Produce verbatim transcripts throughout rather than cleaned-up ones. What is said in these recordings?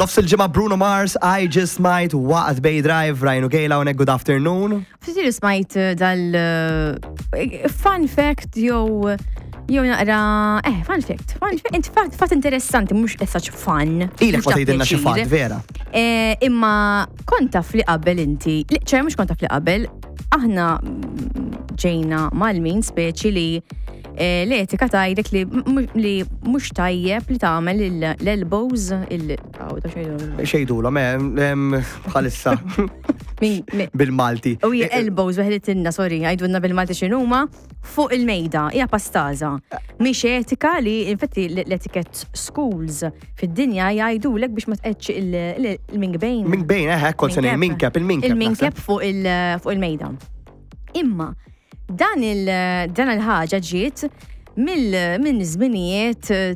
Nofs il-ġimgħa, Bruno Mars, "I Just Might" waqt Bay Drive, Ryan u Kayla hawnhekk, good afternoon. Ftit smajt eh, dal eh, fun fact jew jew naqra, eh, fun fact, fun fact, int fatt fatt interessanti, mhux as such fun. Ilek mhux ma ta' tgħidilna xi pjaċir. Fatt, vera. Eh, imma kont taf li qabel inti, li- ċe mhux kont taf li qabel, aħna mm, ġejna mal-min speċi li eh, l-etika tgħidlek li m- li mhux tajjeb li tagħmel il- l-elbows il aw, da xejdu. Xejdulhom, eh, bħalissa Min- min- bil-Malti. U hija elbows weħlitinna, sorry, għajdunna bil-Malti x'inhuma, fuq il-mejda, hija pastaża. Mhix etika li, infatti l-etiquette schools fid-dinja jgħidulek biex ma tqedx il-mingbejn. Minkbejn, eh, kont se ngħid minkeb, il-minkeb. Il-minkeb fuq il- fuq il-mejda. Imma dan il dan il-ħaġa ġiet mill minn żminijiet eh,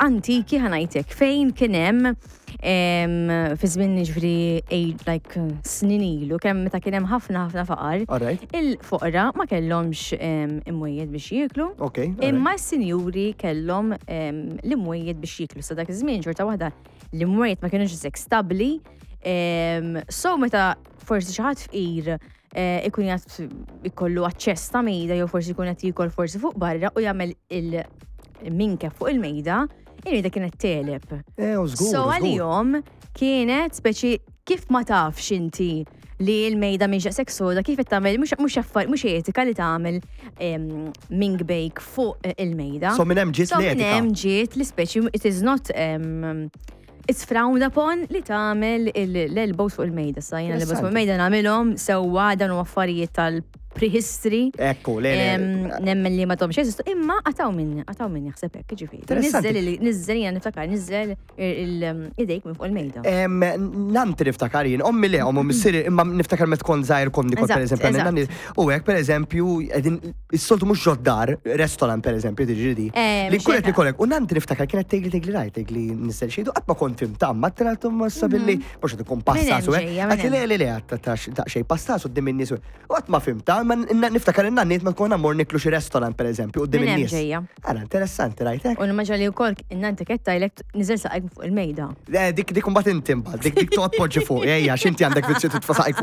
antiki, ħa ngħidlek, fejn kien hemm em, fi żmien, ġifieri age like snin ilu, kemm meta kien hemm ħafna ħafna faqar, Alright, il-foqra ma kellhomx em, imwejjed biex jieklu. okay. alright. Imma s-sinjuri kellhom em, l-imwejjed biex jieklu. Sa dak iż-żmien xorta waħda l-imwejjed ma kienux hekk stabbli. Em, So meta forsi xi ħadd fqir eh, ikun jgħat ikollu aċċess ta' mejda jew forsi jkun qed jiekol forsi fuq barra u jagħmel il-minkeb fuq il-mejda, il-mejda kienet teleb. Eh, u żgur. So żgur. għalihom kienet speċi kif ma tafx inti li l-mejda minn daqshekk soda, kif qed tagħmel, mhux mhux affar mhux etika li tagħmel em, minkbejk fuq eh, il-mejda. So minn hemm ġiet So minn l-etika. hemm ġiet li speċi it is not um, it's frowned upon li tagħmel il- l-elbows fuq il-mejda. Sa jiena l-elbows fuq il-mejda nagħmilhom sewwa, dan huma affarijiet tal-prehistory. Ekku, le, le. Em, Nemmen li ma tomx jeżistu, imma għataw minn, għataw minn jaħseb hekk, ġifieri. Interessanti. Nizzel, nizzel, jiena niftakar, nizzel idejk minn fuq il-mejda. Em, Nanti niftakar jien, ommi le, ommu missieri, imma niftakar met kont żgħir kont nikol per Eżatt, eżempju, eżatt. nanni, u hekk per eżempju, qegħdin is-soltu mhux ġod-dar, restaurant per eżempju, tiġri di. Eh, Li mhux nkun qed hekk. nikolek, u nanti niftakar kienet tgħidli tgħidli rajt, tgħidli nisel xejdu, qatt ma kont fimta, ma t-traltum ma billi, mhux qed ikun pastas u Minn hekk. hemm ġejja, minn Għati le le le, ta' xej pastas u in-nies. U qatt ma fimta, ma niftakar in-nanniet ma tkun mmur niklu xi restaurant per eżempju, quddiem Minn hemm in-nies. ġejja. Ara, interessanti, rajtek? U nimmaġina li wkoll innanti kettajlek niżel saqajk fuq il-mejda. Eh, Dik dik mbagħad inti mbagħad, dik dik toqgħod poġġi fuq, ejja, x'inti għandek vizzju titfa' saqajk.